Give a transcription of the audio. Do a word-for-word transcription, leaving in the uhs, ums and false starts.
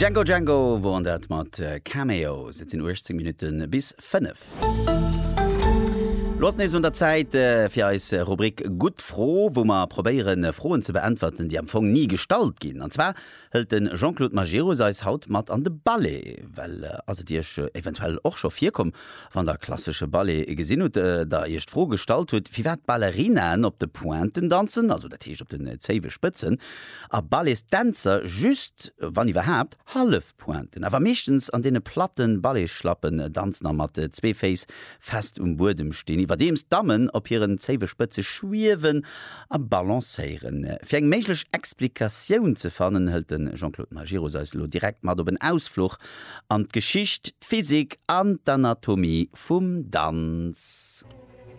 Django Django woren dat mat Cameos. Et sinn uechtzéng Minutte bis fënnef. Lo ass nees un der Zäit fir eis Rubrik Gutt Fro, wou mer probéieren, Froen ze beäntwerten, déi am Fong ni gestallt ginn. An zwar hëlt de Jean-Claude Majerus eis haut mat an de Ballet. Well ass et Iech eventuell och scho virkomm, wann der klassesche Ballet gesinn hutt, der Iech d'Fro gestallt hutt, firwat d'Ballerinaen op de Pointen danzen, also dat heescht op den zéiwe Spëtzen, a Balletsdänzer just, wann iwwerhaapt, hallef Pointen, awer meeschtens an deene platten Balletsschlappen danzen a mat zwee Féiss fest um Buedem stinn, iwwerdeems d'Dammen op hiren zéiwe Spëtze schwiewen a balancéieren. Fir eng méiglech Explikatioun ze fannen, hëlt de Jean-Claude Majerus eis elo direkt mat op en Ausfluch an d'Geschicht, d'Physik an d'Anatomie vum Danz.